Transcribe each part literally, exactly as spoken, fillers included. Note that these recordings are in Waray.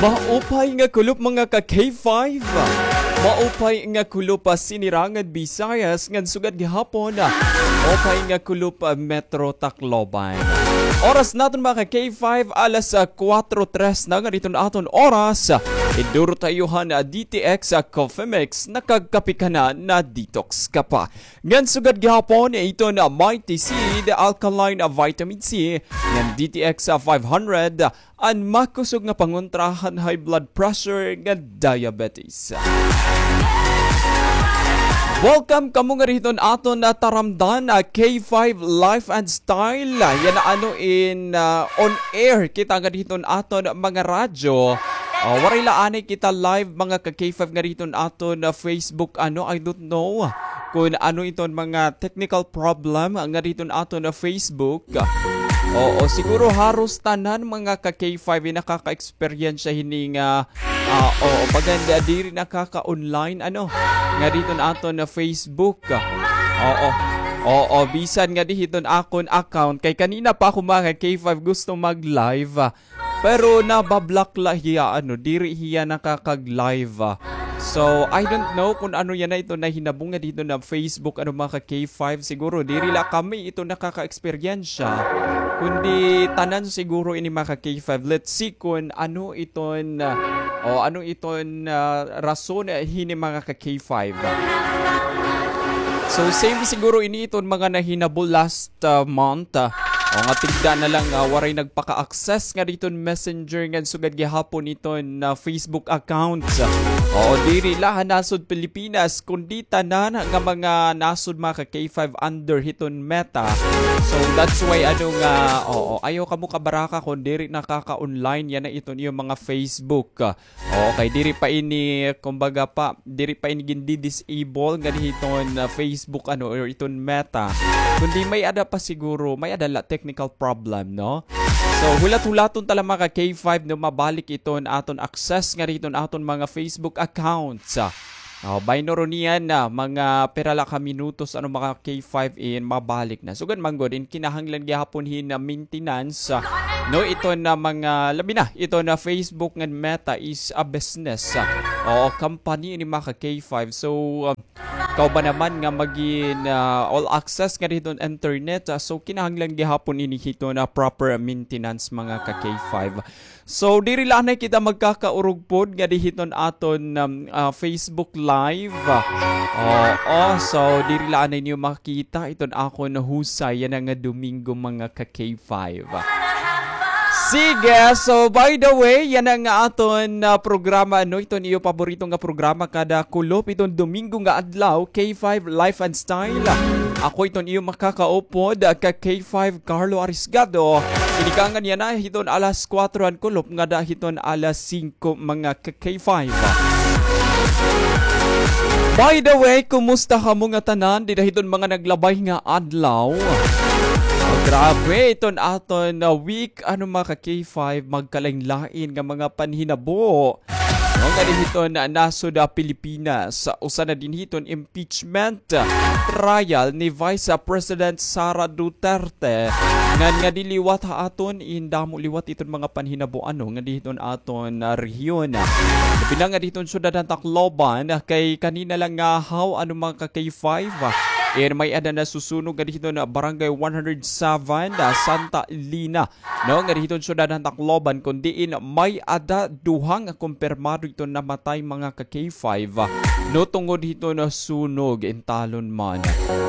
Maupay nga kulop, mga ka K five. Maupay nga kulop, ah, Sinirangan Visayas, ngan sugad gihapon, ah, maupay nga kulop, ah, Metro Tacloban. Oras naton, mga ka K five, alas, ah, kuwatro tres na nga diton aton oras. Iduro ta iyo han, ah, D T X, ah, Coffee Mix, nakagkape ka na, na-detox ka pa. Ngan sugad gihapon, iton, ah, Mighty Seed, alkaline, ah, vitamin C, ngan D T X, ah, five hundred, an makusog nga pangontra han high blood pressure ngan diabetes. Welcome kamo ngadi hiton aton, ah, taramdan, ah, K five Life and Style. Ah, yana ano in, ah, on air kita ngadi hiton aton mga radyo. Ah, waray la anay kita live, mga ka K five, ngadi hiton aton, ah, Facebook, ano, I don't know kon ano iton mga technical problem ngadi hiton aton, ah, Facebook. Oo, siguro haros tanan, mga ka K five, in nakaka-eksperyensya hini nga, ah, oo, baga nga diri nakaka-online, ano, ngadi hiton aton, ah, Facebook. Oo. Oo, bisan ngadi hiton akon account, kay kanina pa ako, mga ka K five, gusto mag-live, ah, pero naba-block la hiya, ano, diri hiya nakakag-live, ah. So, I don't know kon ano yana iton nahinabo ngadi hiton Facebook, ano, mga ka K five. Siguro, diri la kami iton nakaka-eksperyensya, kundi tanan siguro ini, mga ka K five. Let's see kon ano iton, ah, o ano iton, ah, rason, ah, hini, mga ka K five. So, same siguro ini iton mga nahinabo last, ah, month, ah. O nga tigda na la, ah, waray nagpaka-access ngadi hiton Messenger ngan sugad gihapon iton, ah, Facebook accounts. O diri la han nasod Pilipinas, kundi tanan nga mga nasod, mga ka K five, under hiton Meta. So, that's why, ano nga, oo, ayaw kamo kabaraka kon diri nakaka-online yana iton iyo mga Facebook. Okay, diri pa ini, kumbaga pa, diri pa ini gindi-disable ngadi hiton, ah, Facebook, ano, or iton Meta. Kundi may-ada pa siguro, may-ada la technical problem, no? So, hulat-hulaton ta la, mga ka K five, no, mabalik iton aton access ngadi hiton aton mga Facebook accounts. Ah, bayno ron niyan, ah, mga pira la ka minutos, ano, mga K five, in mabalik na. Sugad man gud, in kinahanglan gihapon hin, ah, maintenance, ah, no, iton mga, labi na iton Facebook ngan Meta is a business, ah, o company ini, mga ka K five. So, ah, kauban naman nga magin, ah, all access ngadi hiton internet, ah, so kinahanglan gihapon ini hiton proper maintenance, mga ka K five. So, diri la anay kita magkakaurog pod ngadi hiton aton, um, ah, Facebook Live. Oo, so diri la anay niyo makita iton akon husay yana nga Domingo, mga ka K five. Sige, so by the way, yana nga aton, ah, programa, no, iton iyo paborito nga programa kada kulop iton Domingo nga adlaw, K five Life and Style. Ako iton iyo makakaupod, ah, ka K five Carlo Arisgado. Tinikangan yana hiton alas kuwatro han kulop ngada hiton alas singko, mga ka K five. By the way, kumusta kamo nga tanan dida hiton mga naglabay nga adlaw? Ah, grabe, iton aton, ah, week, ano, mga ka K five, magkalain-lain nga mga panhinabo. No, ngadi hiton, ah, nasod, ah, Pilipinas, usa na dinhi iton impeachment, ah, trial ni Vice, ah, President Sara Duterte. Ngan ngadi liwat ha aton, in damo liwat iton mga panhinabo, ano, ngadi hiton aton, ah, rehiyon. Labi na ngadi hiton syudad han Tacloban, ah, kay kanina la ngahaw, ano, mga ka K five, ah, in may-ada nasusunog ngadi hiton, ah, Barangay one hundred seven, ah, Santa Elena. No, ngadi hiton syudad han Tacloban, kon diin may-ada duha nga kumpirmado iton namatay, mga ka K five, ah, no, tungod hiton sunog in talon man.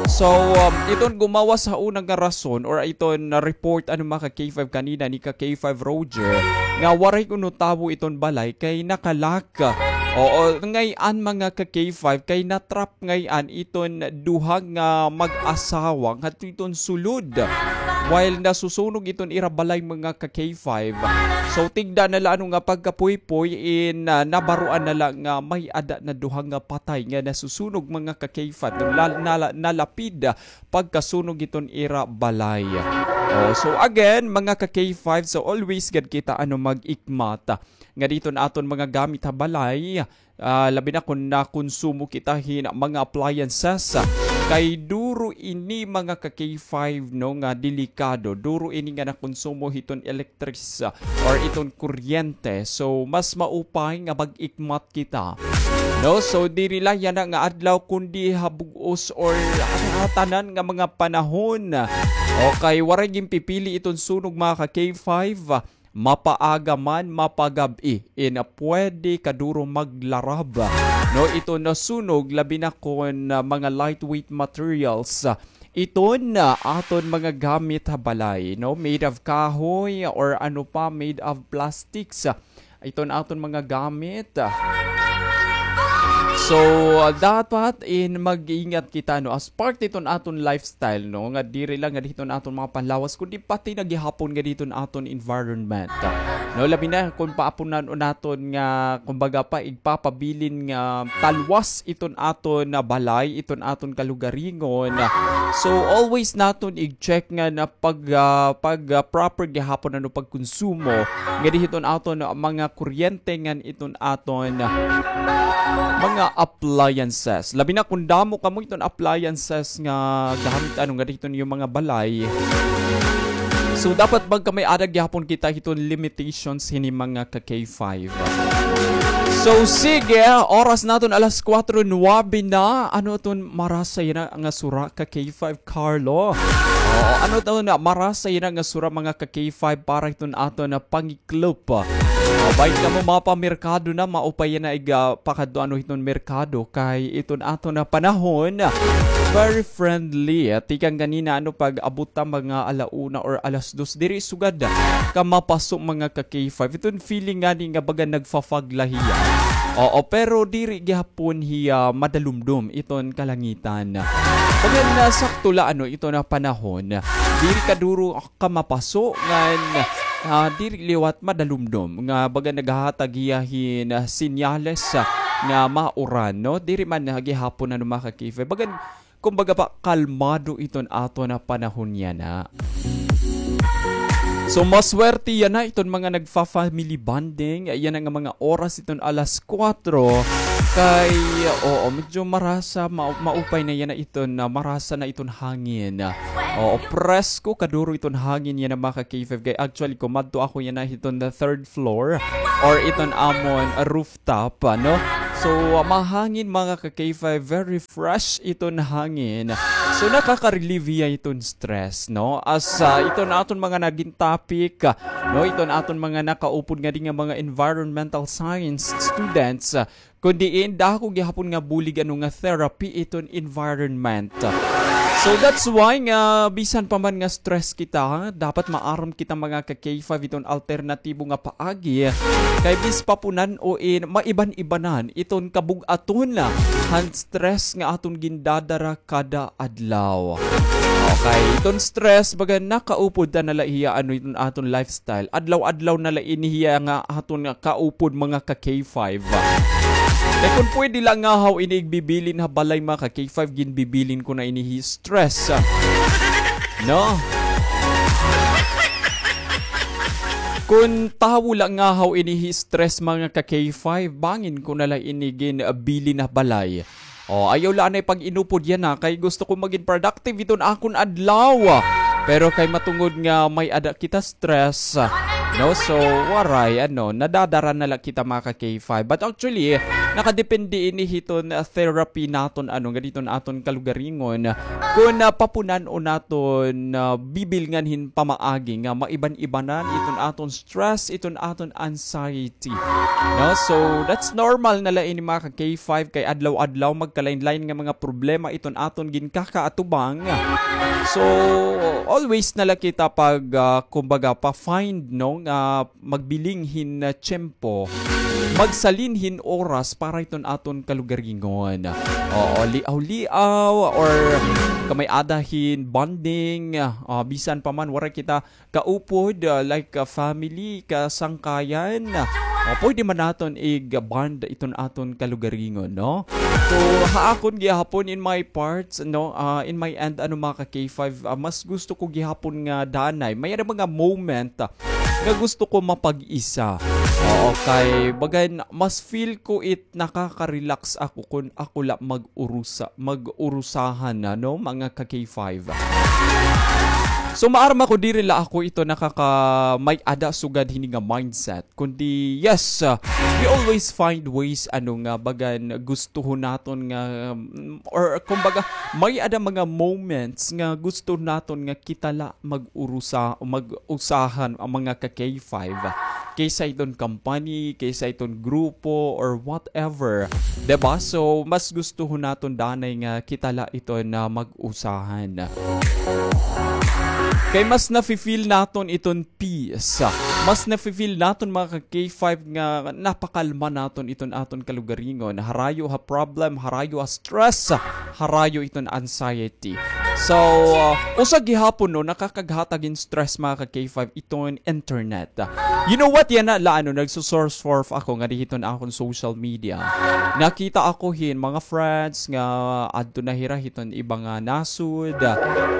So, um, iton gumawas ha una nga rason or iton report, ano, mga ka K five, kanina ni ka K five Roger, nga waray kuno tawo iton balay kay nakalock. Oo, ngay-an, mga ka K five, kay na-trap ngay-an iton duha nga mag-asawa ngadto iton sulod. While nasusunog iton ira balay, mga ka K five. So, tigda na la, ano, nga pagkapuypoy in, ah, nabaroan na la nga may-ada na duha nga patay nga nasusunog, mga ka K five. Nala-, nala-, nalapid, ah, pagkasunog iton ira balay. Oh, so again, mga ka K five, so always gad kita, ano, mag-ikmat ngadi hiton aton mga gamit ha balay. Ah, labi na kon nakonsumo kita hin mga appliances, ah, kay duro ini mga ka K five, no, nga delikado. Duro ini nga nakonsumo hiton elektris, ah, or iton kuryente. So, mas maupay nga mag-ikmat kita. No, so diri la yana nga adlaw kundi ha bug-os or ha tanan nga mga panahon. Okay, waray ginpipili iton sunog mga ka K five. Mapaaga man, mapagab-i, in pwede kaduro maglarab, no, iton sunog, labi na kon, ah, mga lightweight materials, ah, iton, ah, aton mga gamit ha balay, no, made of kahoy or ano pa, made of plastics, ah, iton aton mga gamit. So, ah, dapat in mag-ingat kita, no, as part iton aton lifestyle, no, nga diri lang nga diton aton mga panlawas, kundi pati na gihapon nga diton aton environment. No, labi na kon paapunan naton nga, kumbaga pa, igpapabilin nga talwas iton aton na balay, iton aton kalugaringon. So, always naton i-check nga na pag, ah, pag, ah, proper gihapon ano pagkonsumo nga dihiton aton mga kuryente ngan iton aton mga appliances. Labi na kung damo kamo iton appliances nga gamit ano nga dihiton iyo mga balay. So, dapat magkamay-ada gihapon kita hiton limitations hini mga ka K five. So, sige, oras naton alas kuwatro nuwabe na. Ano iton marasa yana nga sura ka K five, Carlo? Oo, ano iton marasa yana nga sura mga ka K five para hiton aton na pangi- Club. Ah, bahin kamo mapamerkado na, maupay yana ig, ah, pakadto ano hiton merkado kay iton aton na panahon, very friendly. Ah, tikang ganina ano pag-abot ta mga ala una or alas dos, diri sugad ka mapaso mga ka K five. Iton feeling ngani nga baga nagfa-fog la hiya. Oo, pero diri gihapon hiya madalumdom iton kalangitan. Baga na sakto la ano iton na panahon. Diri kaduro ka mapaso ngan, ah, diri liwat madalumdom nga baga naghahatag hiya hin, ah, senyales, ah, nga mauran, no? Diri man, ah, gihapon ano mga ka-K five. Baga, kumbaga pa, kalmado iton aton na panahon yana. So, maswerte yana iton mga nagfa-family bonding. Yana nga mga oras iton alas kuwatro. Kay, oo, medyo marasa, ma-, maupay na yana iton, ah, marasa na iton hangin. Oo, presko kaduro iton hangin yana mga ka-K five. Kay actually, kumadto ako yana hiton the third floor or iton amon rooftop, ano? So, mahangin mga ka-K five, very fresh iton hangin. So, nakaka-relieve hiya iton stress, no? As, ah, iton aton mga nagin topic, ah, no? Iton aton mga nakaupod ngadi nga mga environmental science students, ah, kun diin, dako gihapon nga bulig ano nga therapy iton environment. So that's why nga bisan pa man nga stress kita, dapat maaram kita mga ka-K five iton alternatibo nga paagi. Kay bis papunan-o in maiban-ibanan iton kabug-aton han stress nga aton gindadara kada adlaw. Okay, iton stress, baga nakaupod ta na la hiya ano iton aton lifestyle. Adlaw-adlaw na la ini hiya nga aton nga kaupod mga ka-K five. Kay kun pwede la ngahaw ini igbibilin ha balay mga ka-K five, ginbibilin ko na ini hi stress. No? Kun tawo la ngahaw ini hi stress mga ka-K five, bangin ko na la ini ginbilin ha balay. O, ayaw la anay pag-inupod yana, kay gusto ko magin productive iton akon adlaw. Pero kay matungod nga may-ada kita stress, no? So, waray, ano, nadadara na la kita mga ka-K five. But actually, nakadepende ini hiton, ah, therapy naton, ano, ngadi hiton aton kalugaringon. Kun, ah, papunan-o naton, ah, bibilngan hin pamaagi nga maiban-ibanan iton aton stress, iton aton anxiety. No? So, that's normal na la ini mga ka-K five kay adlaw-adlaw magkalain-lain nga mga problema iton aton ginkakaatubang. So, always na la kita pag, ah, kumbaga, pa-find, no, nga magbiling hin, ah, tiyempo, magsalin hin oras para iton aton kalugaringon. Oo, liaw-liaw or kamay-ada hin bonding, ah, bisan pa man waray kita kaupod, ah, like, ah, family, kasangkayan. Ah, pwede man naton ig-bond iton aton kalugaringon, no? So, ha akon gihapon in my parts, no, ah, in my end, ano, mga ka-K five, ah, mas gusto ko gihapon nga danay. May mga moment, ah, nga gusto ko mapag-isa. Oo, kay bagan mas feel ko it nakaka-relax ako kun ako la mag-urusa, mag-urusahan na, no, mga ka K five. So, maarma ko diri la ako ito nakaka-, may-ada sugad hini nga mindset. Kundi, yes, uh, we always find ways, ano nga, bagan gustuhon naton nga, um, or kumbaga, may-ada mga moments nga gusto naton nga kita la mag-urusa, mag-usahan ang mga ka K five. Kaysa iton company, kaysa iton grupo, or whatever. Diba? So, mas gustuhon naton danay nga kita la iton na mag-usahan. Kay mas nafe-feel naton iton peace. Mas nafe-feel naton, mga ka K five, nga napakalma naton iton aton kalugaringon. Harayo ha problem, harayo ha stress, harayo iton anxiety. So, uh, usa gihapon, no, nakakaghatag hin stress, mga ka K five, iton internet. You know what? Yana la, ano, nagsusurf-surf ako ngadi hiton akon social media. Nakita ako hin mga friends nga adto na hira hiton iba nga nasod.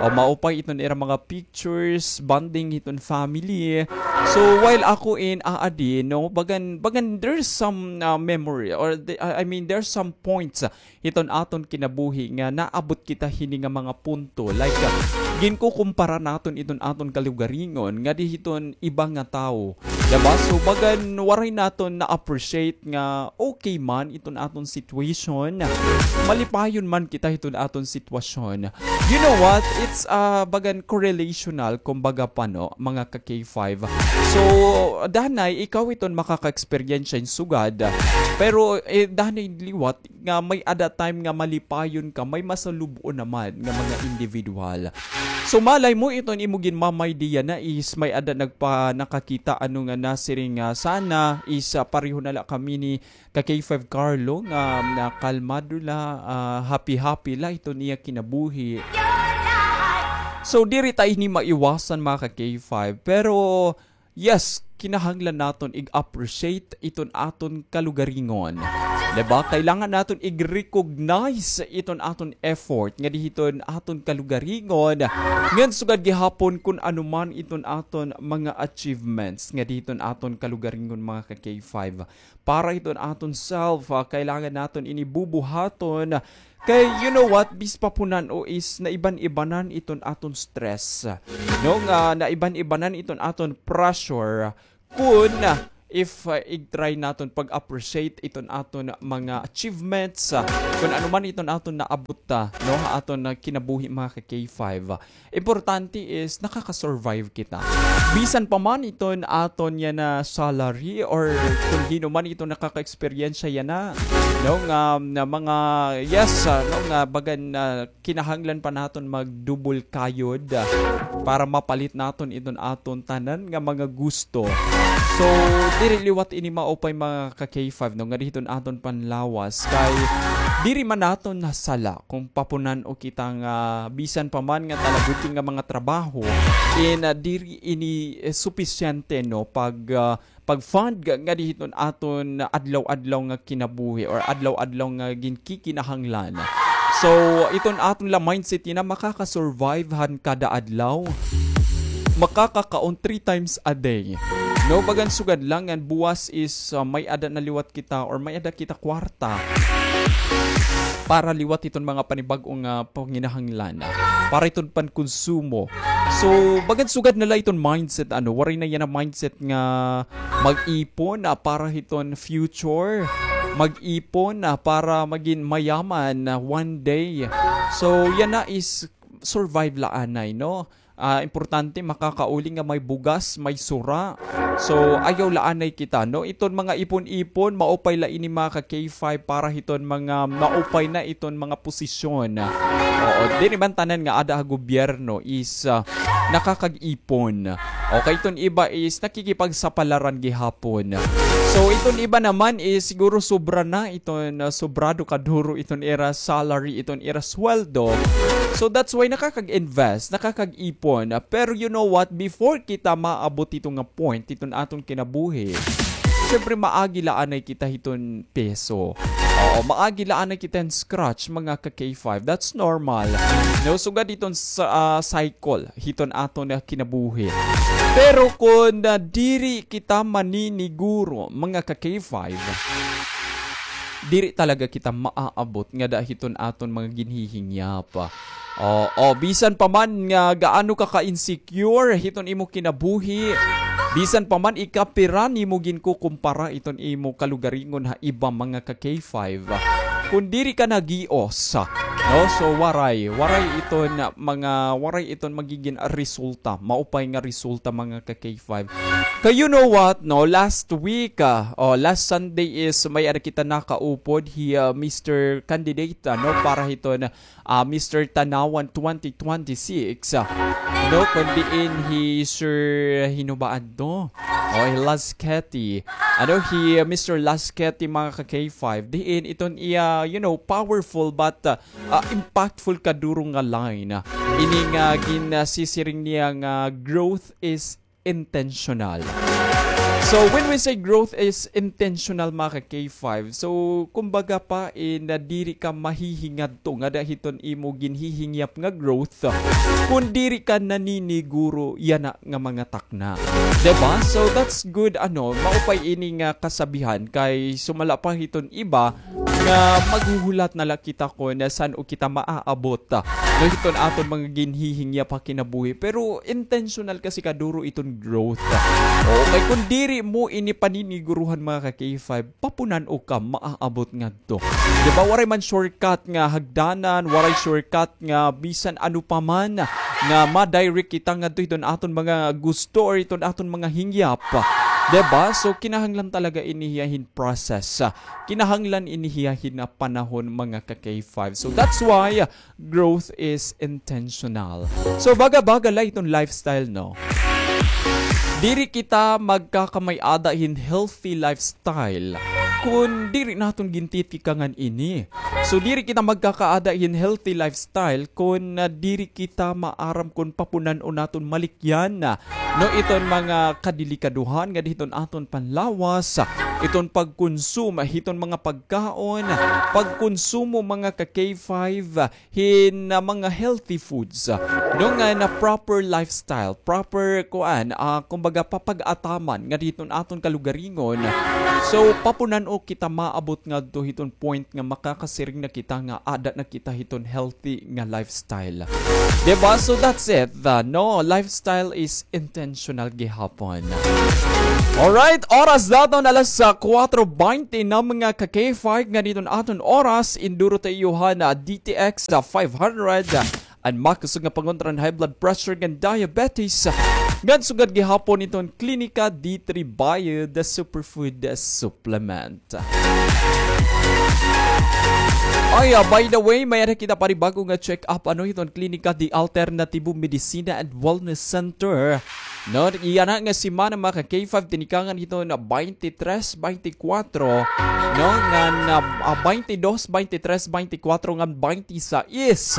O, maupay iton ira mga pictures, bonding hiton family. So, while ako in aadi, no, bagan, bagan, there's some, uh, memory or the, uh, I mean, there's some points, uh, hiton aton kinabuhi nga naabot kita hini nga mga punto. Like, uh, ginkukumpara naton iton aton kalugaringon ngadi hiton iba nga tawo. Diba? So, bagan waray naton na-appreciate nga okay man iton aton situation. Malipayon man kita hiton aton sitwasyon. You know what? It's, uh, bagan correlational, kumbaga pa, no, mga ka K five. So, danay, ikaw iton makaka-experience hin sugad. Pero, eh, danay liwat nga may-ada time nga malipayon ka, may masalub-on naman nga mga individual. So, malay mo, iton imo ginmamaydiya na is may-ada nagpa-, nakakita, ano nga nasiring nga, sana is, ah, pareho na la kami ni ka K five Carlo nga, na kalmado la, ah, happy-happy la iton iya kinabuhi. So, diri ta ini maiwasan, mga ka K five, pero yes, kinahanglan naton ig-appreciate iton aton kalugaringon. Diba? Kailangan naton ig-recognize iton aton effort ngadi hiton aton kalugaringon. Ngan sugad gihapon kun ano man iton aton mga achievements ngadi hiton aton kalugaringon, mga ka K five. Para hiton aton self, ah, kailangan naton ini bubuhaton. Kay, you know what, bis pa punan-o is naiban-ibanan iton aton stress. No, nga naiban-ibanan iton aton pressure kun, ah, if, ah, ig-try naton pag-appreciate iton aton mga achievements, ah, kun ano man iton aton naabot, ah, no, ha aton, ah, kinabuhi, mga ka K five. Importante is nakaka-survive kita. Bisan pa man iton aton yana salary or kun hin-o man iton nakaka-eksperyensya yana, no, nga, nga mga, yes, ah, no, nga bagan, ah, kinahanglan pa naton mag-double kayod, ah, para mapalit naton iton aton tanan nga mga gusto. So, diri liwat ini maupay, mga ka K five, no, ngadi hiton aton panlawas kay diri man naton nasala kung papunan-o kita nga bisan pa man nga talabuti nga mga trabaho, eh, na diri ini, eh, supisyente, no, pag, ah, pag-fund nga, ngadi hiton aton adlaw-adlaw nga kinabuhi or adlaw-adlaw nga ginkikinahanglan. So, iton aton la mindset yana, makaka-survive han kada adlaw. Makakakaon three times a day. No, bagan sugad la ngan buwas is, ah, may-ada na liwat kita or may-ada kita kwarta para liwat hiton mga panibag-o nga panginahanglan, para hiton pankonsumo. So, bagan sugad na la iton mindset, ano, waray na yana mindset nga mag-ipon, ah, para hiton future, mag-ipon, ah, para magin mayaman, ah, one day. So, yana is survive la anay, no? Ah, importante makakauli nga may bugas, may sura. So, ayaw la anay kita, no? Iton mga ipon-ipon, maupay la ini, mga ka K five, para hiton mga maupay na iton mga posisyon. Oo, diri man tanan nga ada ha gobyerno is, ah, nakakag-ipon. Okay, iton iba is nakikipagsapalaran gihapon. So, iton iba naman is siguro sobra na iton, ah, sobrado kaduro iton ira salary, iton ira sweldo. So, that's why nakakag-invest, nakakag-ipon. Ah, pero you know what? Before kita maabot hito nga point, hiton aton kinabuhi, syempre, maagi la anay kita hiton peso. O, O, maagi la anay kita hin scratch, mga ka K five. That's normal. No, sugad hiton sa, ah, cycle, hiton aton nga kinabuhi. Pero kon, ah, diri kita maniniguro, mga ka K five, diri talaga kita maaabot ngada hiton aton mga ginhihingyap. O, o, bisan pa man nga gaano ka ka-insecure hiton imo kinabuhi, bisan pa man ika pira nimo ginkukumpara iton imo kalugaringon ha iba, mga ka K five, kon diri ka nagios, no? So, waray, waray iton mga, waray iton magigin resulta, maupay nga resulta, mga ka K five. Kay you know what, no? Last week, ah, o, last Sunday is may-ada kita nakaupod hi, ah, Mister Candidate, ano, para hiton, ah, Mister Tanauan twenty twenty-six, ah, no, kon diin hi Sir, hin-o ba adto? O, hi Lasqueti. Ano, hi, ah, Mister Lasqueti, mga ka K five. Diin iton iya, you know, powerful but, ah, ah, impactful kaduro nga line. Ini nga gin, ah, sisiring niya nga growth is intentional. So, when we say growth is intentional, mga ka K five, so, kumbaga pa, eh, na diri ka mahihingadto ngada hiton imo ginhihingyap nga growth, kun diri ka naniniguro yana nga mga takna. Diba? So, that's good, ano, maupay ini nga kasabihan kay sumala pa hiton iba, nga maghuhulat na la kita kon san-o kita maaabot, ah, no, hiton aton mga ginhihingyap ha kinabuhi. Pero intentional kasi kaduro iton growth. Okay, kon diri mo ini paniniguruhan, mga ka K five, papunan-o ka maaabot ngadto. Di ba, waray man shortcut nga hagdanan, waray shortcut nga bisan ano pa man nga ma-direct kita ngadto hiton aton mga gusto or hiton aton mga hingyap. Di ba? So, kinahanglan talaga ini hiya hin process. Kinahanglan ini hiya hin panahon, mga ka K five. So that's why, uh, growth is intentional. So baga-baga la iton lifestyle, no? Diri kita magkakamay-ada hin healthy lifestyle kun diri naton gintitikangan ini. So diri kita magkakaada hin healthy lifestyle kun, uh, diri kita maaram kun papunan-o naton malikyan, uh, no, iton mga kadelikadohan ngadi hiton aton panlawas, iton pagkonsum hiton mga pagkaon, pagkonsumo, mga ka K five, hin, ah, mga healthy foods, no, nga na proper lifestyle, proper kuan, ah, kumbaga papag-ataman ngadi hiton aton kalugaringon. So papunan-o kita maabot ngadto hiton point nga makakasiring na kita nga ada na kita hiton healthy nga lifestyle. Diba? So that's it. Uh, no, lifestyle is intentional gihapon. Alright, oras daton alas, ah, kuwatro baynte na, mga ka K five, ngan iton aton oras, induro ta iyo han D T X, ah, five hundred, ah, an makusog nga pangontra han high blood pressure ngan diabetes, ah, ngan sugad gihapon iton Klinika D three Bio, the superfood, ah, supplement. Ay, ah, by the way, may-ada kita panibag-o nga check-up, ano, hiton Klinika de Alternativo Medicina and Wellness Center. No, yana nga semana, mga ka K five, tinikangan hiton baynte tres, baynte kuwatro, no, ngan, ah, baynte dos, baynte tres, baynte kuwatro, ngan baynte sais.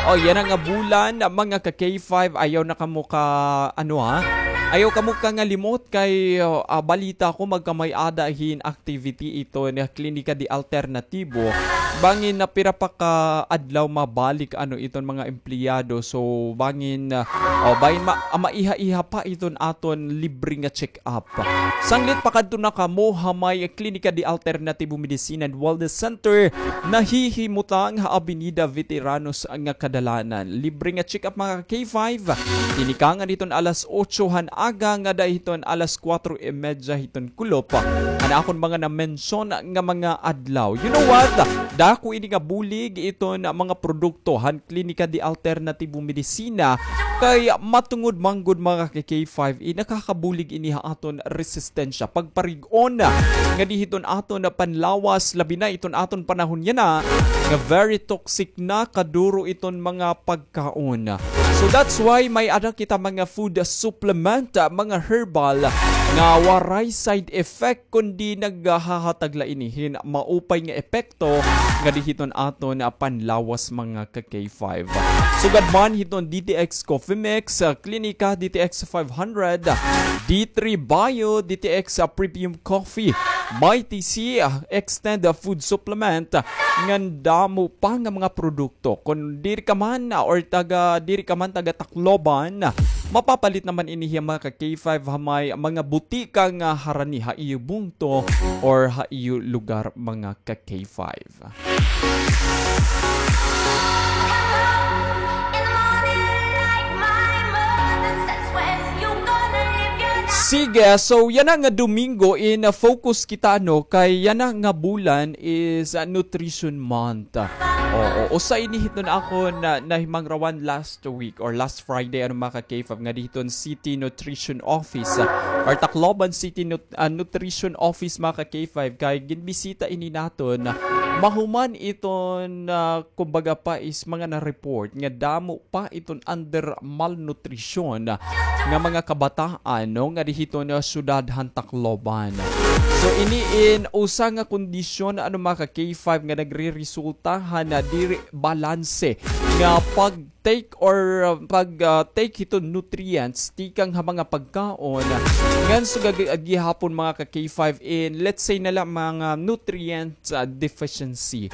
Oo, yana nga bulan, mga ka K five, ayaw na kamo ka, ano, ha? Ayaw kamo kangalimot kay, ah, balita ko magkamay-ada hin activity iton Klinika de Alternativo. Bangin na pira pa ka adlaw mabalik, ano, iton mga empleyado. So, bangin, ah, o, bangin ma-, ah, maiha-iha pa iton aton libre nga check-up. Sanglit pakadto na kamo ha may Klinika de Alternativo Medicina and Wellness Center, nahihimutang ha Avenida Veteranos nga kadalanan. Libre nga check-up, mga K five. Tinikangan hiton alas otso han aga ngada hiton alas kuwatro y medya hiton kulop. An akon mga na-mention nga mga adlaw. You know what? Dako ini nga bulig iton mga produkto han Klinika de Alternativo Medicina kay matungod man gud, mga ka K five, eh, nakakabulig ini ha aton resistensya, pagparig-on ngadi hiton aton panlawas, labi na iton aton panahon yana nga very toxic na kaduro iton mga pagkaon. So that's why may-ada kita mga food supplement, mga herbal nga waray side effect, kundi naghahatag la ini hin maupay nga epekto ngadi hiton aton panlawas, mga ka K five. Sugad man hiton D T X Coffee Mix, ah, Klinika D T X five hundred, D three Bio, D T X, ah, Premium Coffee, Mighty C, ah, Extend, ah, Food Supplement, ah, ngan damo pa nga mga produkto. Kon diri ka man, ah, or taga, diri ka man taga Tacloban, ah, mapapalit naman ini hiya, mga ka K five, ha may mga butika nga harani ha iyo bungto or ha iyo lugar, mga ka K five. Sige, so yana nga Domingo in, uh, focus kita, no, kay yana nga bulan is, uh, Nutrition Month. Oo, usa ini hiton akon na nahimangrawan last week or last Friday, ano, mga ka K five, nga dihiton City Nutrition Office, uh, or Tacloban City Nut-, uh, Nutrition Office, mga ka K five, kay ginbisita ini naton, uh, mahuman iton, uh, kumbaga pa is mga na-report nga damo pa iton under malnutrition nga mga kabataan, no, nga dihiton syudad han Tacloban. So, ini in usa nga kondisyon, ano, mga ka K five, nga nagreresulta han, ah, diri balanse nga pag-take or, ah, pag, ah, take hiton nutrients tikang ha mga pagkaon ngan sugad gihapon, mga ka K five, in, let's say na la, mga nutrient, ah, deficiency.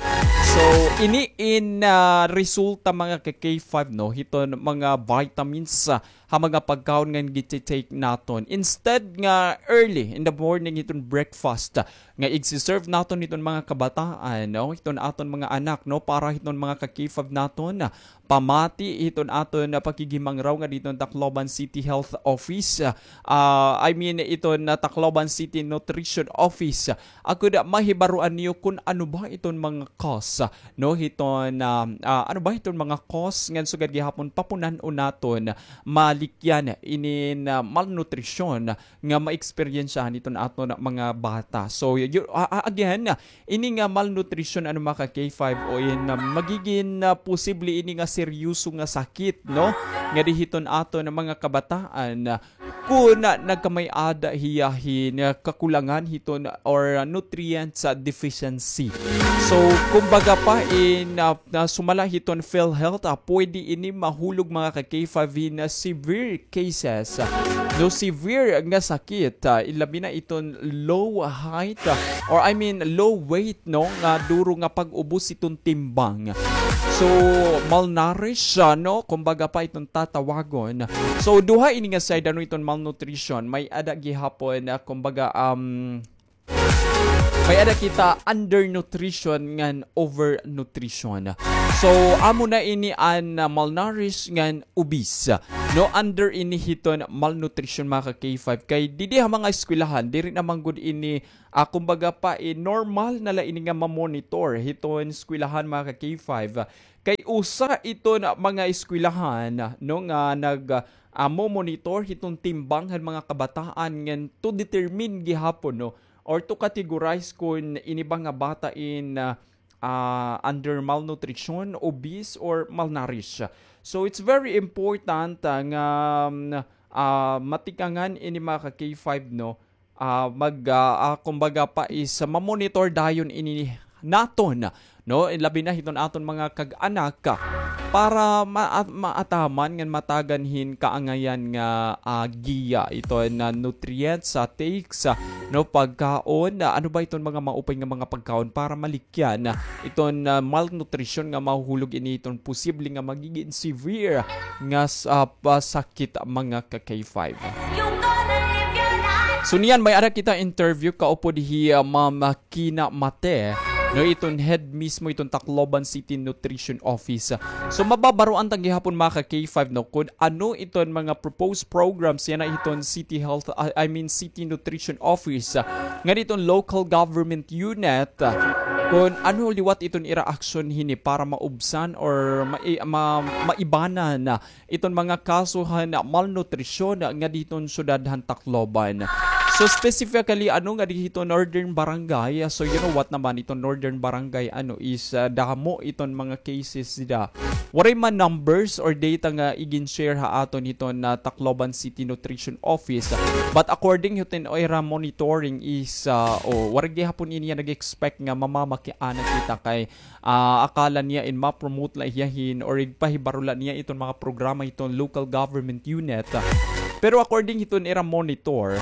So, ini in, ah, resulta, mga ka K five, no, hiton mga vitamins, ah, ha mga pagkaon nga giti-take naton. Instead nga early in the morning hiton breakfast, ah, nga igsi-serve naton hiton mga kabataan, no, hiton aton mga anak, no, para hiton mga ka K five naton, ah, pamati hiton aton, ah, pakigimangraw nga dihiton Tacloban City Health Office, ah, I mean, iton, ah, Tacloban City Nutrition Office, ah, agod, ah, mahibaroan niyo kon ano ba iton mga cause, ah, no, hiton, ah, ah, ano ba hiton mga cause ngan sugad gihapon papunan-on naton malikyan inin, ah, malnutrition nga maeksperyensyahan hiton aton mga bata. So, y-, y-, ah, ah, again, ini nga malnutrition, ano, mga ka K five, o in, ah, magigin, ah, posible ini nga seryoso nga sakit, no, nga dihiton aton mga kabataan, ah, kon, ah, nagkamay-ada hiya hin, ah, kakulangan hiton or, ah, nutrients, ah, deficiency. So, kumbaga pa in, ah, na sumala hiton PhilHealth, ah, pwede ini mahulog, mga ka K five, hin, ah, severe cases, ah, no, severe nga sakit, ah, ilabi na iton low height, ah, or I mean low weight, no, nga duro nga pag-ubos iton timbang. So, malnourished, ah, no, kumbaga pa iton tatawagon. So, duha ini nga side, ano, iton malnutrition. May-ada gihapon, ah, kumbaga, um, may-ada kita undernutrition ngan overnutrition. So, amo na ini an, ah, malnourished ngan obese. No, under ini hiton malnutrition, mga ka K five. Kay didi ha mga eskwelahan, diri na man gud ini, ah, kumbaga pa, eh, normal na la ini nga ma-monitor hiton eskwelahan, mga ka K five. Kay usa iton mga eskwelahan, no, nga nag, ah, mo-monitor hiton timbang han mga kabataan ngan to determine gihapon, no, or to categorize kon ini ba nga bata in, ah, ah, under malnutrition, obese, or malnourished. So, it's very important, ah, nga, um, ah, matikangan ini, mga ka K five, no, ah, mag, ah, ah, kumbaga pa is, ah, ma-monitor dayon ini naton, no? Labi na hiton aton mga kag-anak, ah, para ma-, ah, maataman ngan matagan hin kaangayan nga, ah, giya iton, ah, nutrients, ah, takes, ah, no, pagkaon, ah, ano ba iton mga maupay nga mga pagkaon para malikyan, ah, iton, ah, malnutrition nga mahuhulog ini iton posible nga magigin severe nga s-, ah, pasakit, mga ka K five. So niyan, may-ada kita interview kaupod hi, ah, Ma'am Kina Mate, no, iton head mismo iton Tacloban City Nutrition Office. So mababaroan ta gihapon, mga ka K five, no, kon ano iton mga proposed programs yana iton City Health, ah, I mean City Nutrition Office, ah, ngan iton local government unit, ah, kon ano liwat iton ira aksyon hini para maubsan or mai-, ma-, maibanan, ah, iton mga kaso han malnutrisyon nga dihiton syudad han Tacloban. So specifically, ano, nga dihiton Northern Barangay, ah, so you know what naman iton Northern Barangay, ano, is, ah, damo iton mga cases dida. Waray man numbers or data nga igin-share ha aton hiton, ah, Tacloban City Nutrition Office. But according hiton ira monitoring is, ah, o, waray gihapon ini nga nag-expect nga mamamakiana kita kay ah, akala niya in ma-promote la hiya hin or igpahibaro la niya iton mga programa hiton local government unit, ah, Pero according hiton ira monitor,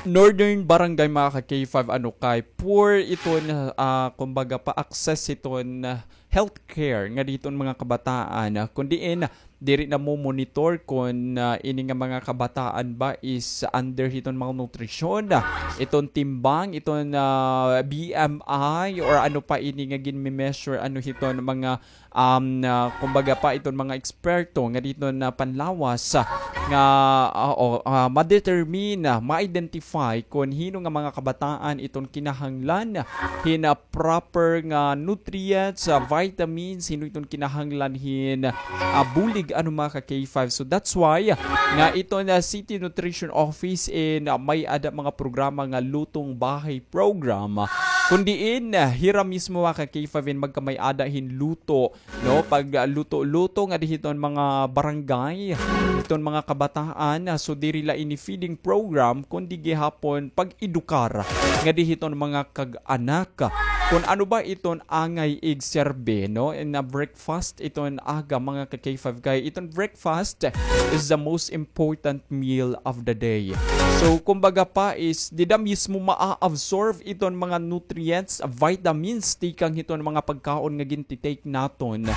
Northern Barangay, mga ka-K five, ano kay poor iton, ah, kumbaga pa access hiton, ah, healthcare nga diton mga kabataan, ah, kun diin diri na mo-monitor kun, ah, ini nga mga kabataan ba is under hiton malnutrition, ah, iton timbang, iton, ah, B M I, or ano pa ini nga ginme-measure, ano hiton mga um, ah, kumbaga pa iton mga eksperto nga diton panlawas, ah, nga, ah, o, ah, ma-determine, ah, ma-identify kun hin-o nga mga kabataan iton kinahanglan hin, ah, proper nga nutrients, ah, vitamins, hin-o iton kinahanglan hin, ah, bulig, ano, mga ka-K five. So that's why, ah, nga iton, ah, City Nutrition Office in, ah, may-ada mga programa nga Lutong Bahay Program, ah, kun diin, ah, hira mismo, mga ka-K five, in magkamay-ada hin luto, no, pag, ah, luto-luto ngadi hiton mga barangay, hiton mga kabataan, ah, so diri la ini feeding program, kundi gihapon pag-edukar ngadi hiton mga kag-anak kun ano ba iton angay igserbi, no, in a breakfast iton aga, mga ka-K five, kay iton breakfast is the most important meal of the day. So, kumbaga pa is, dida mismo maa-absorb iton mga nutrients, vitamins, tikang hiton mga pagkaon nga ginti-take naton.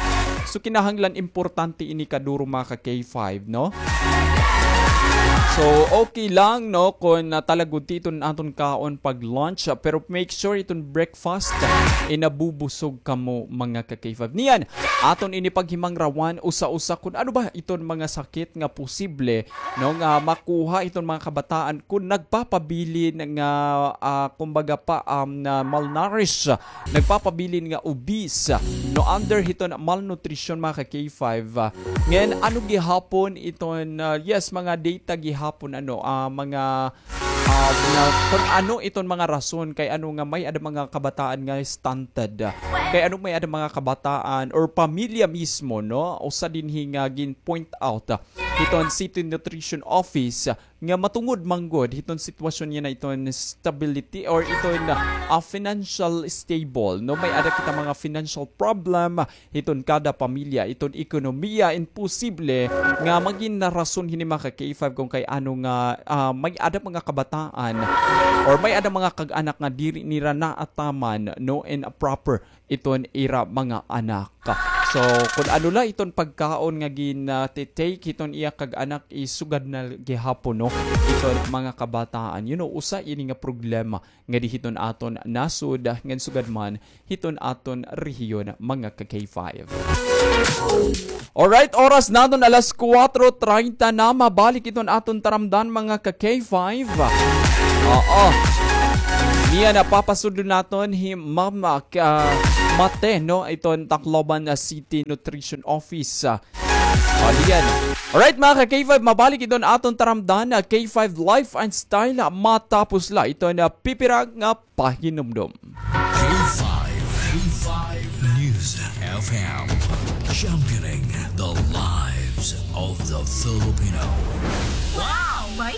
So, kinahanglan importante ini kaduro, mga ka-K five, no? So, okay lang, no, kun, ah, talagod ti iton aton kaon pag lunch, ah, pero make sure iton breakfast, ah, inabubusog kamo, mga ka-K five. Niyan, aton ini paghimangrawan usa-usa kun ano ba iton mga sakit nga posible, no, nga makuha iton mga kabataan kun nagpapabilin nga, ah, kumbaga pa, um, na malnourished, nagpapabilin nga obese, no, under hiton malnutrition, mga ka-K five. Ngan, ano gihapon iton, ah, yes, mga data gihapon, ano, ah, mga, ah, mga, kun ano iton mga rason kay ano nga may-ada mga kabataan nga stunted. Kay ano may-ada mga kabataan or pamilya mismo, no? Usa dinhi nga gin-point out, ah, hiton City Nutrition Office, ah, nga matungod man gud hiton sitwasyon niya na iton stability or iton, ah, financial stable, no? May-ada kita mga financial problem, hiton kada pamilya, iton ekonomiya, imposible nga magin rason hini, mga ka-K five, kun kay ano nga, ah, may-ada mga kabataan or may-ada mga kag-anak nga diri nira naataman, no, in a proper iton ira mga anak. So, kun ano la iton pagkaon nga gin, ah, ti-take hiton iya kag-anak, isugad na gihapon, no, iton mga kabataan. You know, usa ini nga problema ngadi hiton aton nasod, ngan sugad man hiton aton rehiyon, mga ka-K five. Alright, oras naton alas kuwatro treinta na, mabalik iton aton taramdan, mga ka-K five. Oo. Niyan, napapasudlo naton hi Ma'am, ah, ka-, Mate, no, iton Tacloban, ah, City Nutrition Office, ah, O, diyan. Alright, mga ka-K five, mabalik iton aton taramdan, ah, K five Life and Style, ah, matapos la iton, ah, pipira nga pahinumdom. K five, K five News F M, championing the lives of the Filipino. Wow! May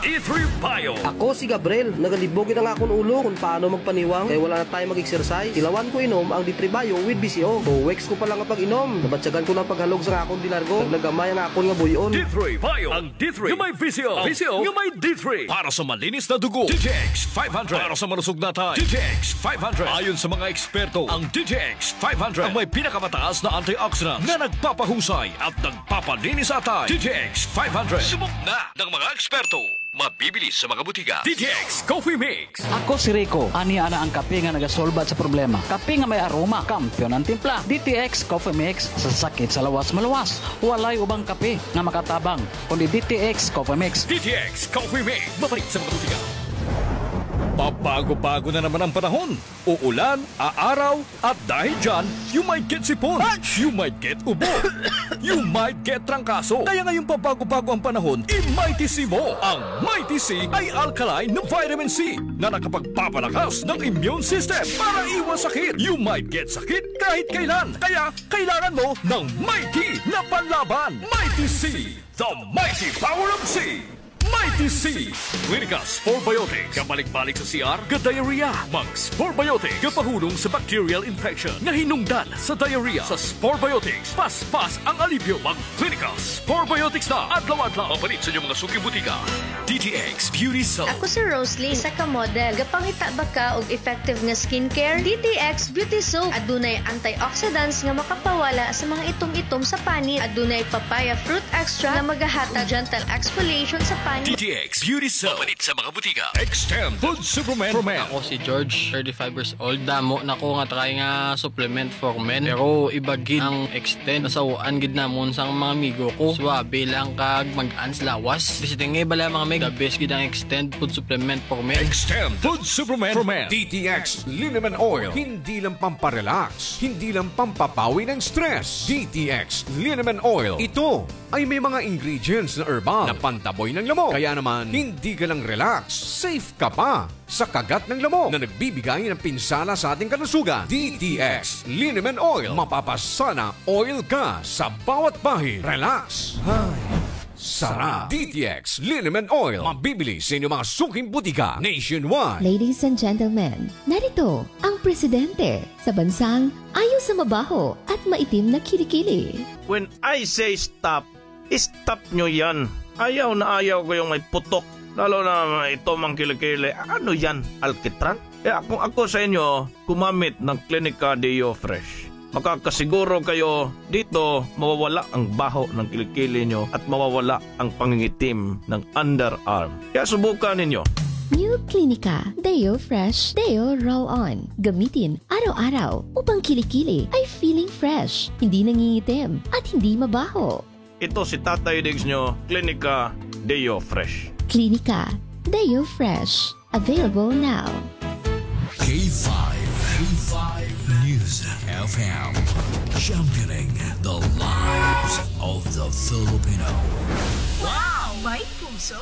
D three Bio. Ako si Gabriel. Nagalibog na nga akon ulo kon paano magpaniwang kay wala na tayo mag-exercise. Tilawan ko inom ang D three Bio with B C O. Two weeks ko pa lang nga pag-inom, nabatyagan ko na ang paghalog sa akon dinargo. Nagnagamay ang akon nga buy-on. D three Bio. Ang D three nga may B C O. Ang B C O nga may D three. Para sa malinis na dugo, D T X five hundred. Para sa malusog na atay, D T X five hundred. Ayon sa mga eksperto, ang D T X five hundred ang may pinakamataas na antioxidant na nagpapahusay at nagpapalinis sa atay. D T X five hundred. Subok na ng mga eksperto. Mabibili sa mga butika. D T X Coffee Mix. Ako si Rico. Ania na ang kape nga nagasolbat sa problema. Kape nga may aroma, kampiyon ang timpla. D T X Coffee Mix, sa sakit sa lawas maluwas. Walay ubang kape nga makatabang kundi D T X Coffee Mix. D T X Coffee Mix. Mabalik sa mga butika. Pabago-bago na naman ang panahon. Uulan, aaraw, at dahil dyan, you might get sipon, you might get ubo, you might get trangkaso. Kaya ngayong pabago-bago ang panahon, i-Mighty C mo. Ang Mighty C ay alkaline na vitamin C na nakapagpapalakas ng immune system para iwas sakit. You might get sakit kahit kailan. Kaya kailangan mo ng Mighty na panlaban. Mighty C, the mighty power of C. Mighty C! Clinica Spore Biotics. Kabalik-balik sa C R, ga-diarrhea. Mag Spore Biotics. Gapahulong sa bacterial infection nga hinungdan sa diarrhea. Sa Spore Biotics, paspas ang alibyo. Mag Clinica Spore Biotics na adlaw-adlaw. Mapalit sa inyo mga suking butika. D T X Beauty Soap. Ako si Rosalie, isa ka model. Gapangita ba ka og effective nga skincare? D T X Beauty Soap. Adunay antioxidants nga makapawala sa mga itom-itom sa panit. Adunay papaya fruit extract nga magahatag og gentle exfoliation sa panit. D T X Beauty Soap. Mapalit sa mga butika. Extend Food Supplement for Men. Ako si George, thirty-five years old. Damo na ko nga try nga supplement for men. Pero iba gid ang Extend. Nasaw-an gid namon sang mga amigo ko. Suabe lang kag mag-ans lawas. Basta nga bala, mga mig, the best gid ang Extend Food Supplement for Men. Extend Food Supplement for Men. D T X Liniment Oil. Hindi lang pamparelax, hindi lang pampapawi ng stress. D T X Liniment Oil. Ito ay may mga ingredients na herbal na pantaboy ng lamok. Kaya naman, hindi ka lang relax, safe ka pa sa kagat ng lamok na nagbibigay ng pinsala sa ating kalusugan. D T X Liniment Oil. Mapapasana oil ka sa bawat bahid. Relax. Ay, sarap. D T X Liniment Oil. Mabibili sa inyong mga suking butika nationwide. Ladies and gentlemen, narito ang presidente sa bansang ayaw sa mabaho at maitim na kilikili. When I say stop, stop nyo yan. Ayaw na ayaw ko yung may putok. Lalo na may itom ang kilikili. Ano yan? Alkitran? Kaya kung ako sa inyo, gumamit ng Clinica Deo Fresh. Makakasiguro kayo dito mawawala ang baho ng kilikili nyo at mawawala ang pangingitim ng underarm. Kaya subukan ninyo. New Clinica Deo Fresh Deo Roll On. Gamitin araw-araw upang kilikili ay feeling fresh, hindi nangingitim, at hindi mabaho. Ito si Tatay Diggs nyo, Clinica Deo Fresh. Clinica Deo Fresh. Available now. K five, K five News F M. Championing the lives of the Filipino. Wow! May puso!